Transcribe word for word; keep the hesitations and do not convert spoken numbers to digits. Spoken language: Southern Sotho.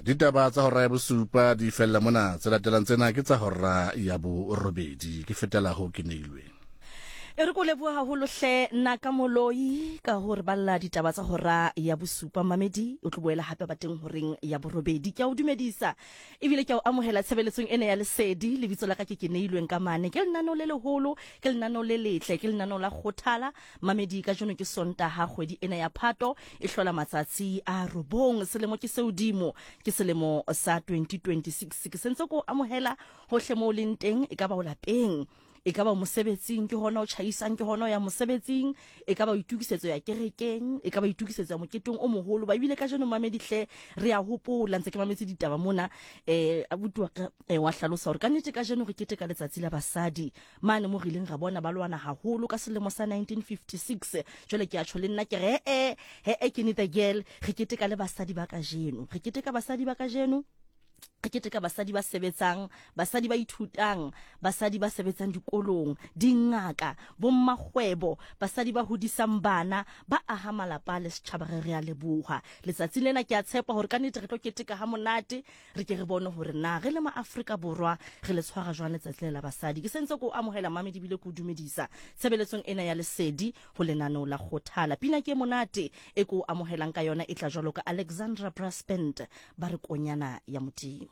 Ditaba tsa hora ya bosupa di fella mona, tse latelang tsena ke tsa hora ya borobedi. Ke fetela ho ke neilweng. E re ko leboha haholo hle nna ka moloi ka hore balla ditaba tsa hora ya bosupa. Mamedi o tlo boela hape ba teng horeng ya borobedi. Ke a o dumedisa ebile ke a o amohela tshebeletsong ena ya Lesedi. Lebitso la ka ke ke neilweng ka mane. Ke lenaneo le leholo, ke lenaneo le letle, ke lenaneo la kgothala. Mamedi, kajeno ke Sontaha, kgwedi ena ya Phato e hlola matsatsi a robong, selemo ke seodimo, ke selemo sa twenty twenty-six. Ke sentse ko amohela hohle moo leng teng, e ka ba o lapeng, e ka ba mosebetsing, ke hona o tjhaisang, ke hona o ya mosebetsing, e ka ba o itokisetso ya kerekeng, e ka ba itokisetso ya moketeng o moholo. Ba ebile kajeno mamedi hle re a hopola, ntse ke mametse ditaba mona, eh abuti wa ka, eh, wa hlalosa hore ka nnete kajeno re keteka letsatsi la basadi mane mo re ileng ra bona ba lwana haholo ka selemo sa nineteen fifty-six. Jwale ke a tjho le nna ke re, eh, eh, eh, ke ne the girl, re keteka le basadi ba kajeno, re keteka basadi ba kajeno, re keteka basadi ba sebetsang, basadi ba ithutang, basadi ba sebetsang dikolong, dingaka, bommakgwebo, basadi ba hodisang bana, ba aha malapa le setjhaba. Re re a leboha letsatsi lena. Ke a tshepa hore ka nnete re tlo keteka ha monate, re ke re bone hore na re le ma Afrika Borwa re le tshwara jwang letsatsi la basadi. Ke sentse ko amohela mamedi bile ko dumedisa tshebeletsong ena ya Lesedi ho lenaneo la kgothala. Pina ke monate e ko amohelang ka yona e tla jwalo ka Alexandra Brass Band, ba re konyana ya Modimo.